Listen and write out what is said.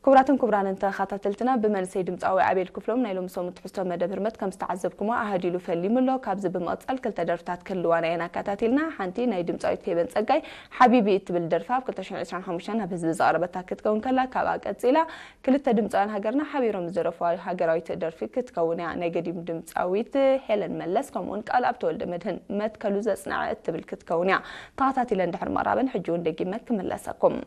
ክቡራትን ክቡራንን ተኸታተልትና፣ ብመንሰይ ድምፃዊ ኣቤል ክፍሎም ናይ ሎሚ ሰሙን ትሕዝቶ መደብ ህርመት ከም ዝተዓዘብኩሞ ኣሃዲሉ ፈሊሙ ኣሎ። ካብዚ ብምቕፃል ክልተ ደርፍታት ክህልዋና እየን ኣከታቲልና። ሓንቲ ናይ ድምፃዊት ፌበን ፀጋይ ሓቢቢ እትብል ደርፋ ኣብ ክልተ ሽሕን ዕስራን ሓሙሽተን ናብ ህዝቢ ዘቕረበታ ክትከውን ከላ፣ ካብኣ ቀፂላ ክልተ ድምፃውያን ሃገርና ሓቢሮም ዝደረፍዋ ሃገራዊት ደርፊ ክትከውን እያ። ናይ ገዲም ድምፃዊት ሄለን መለስ ከምኡውን ቃል ኣብ ተወልደ መድህን መትከሉ ዘፅንዐ እትብል ክትከውን እያ። ተኸታቲለን ድሕሪ ምቕራበን ሕጂ እውን ደጊመ ክምለሰኩም።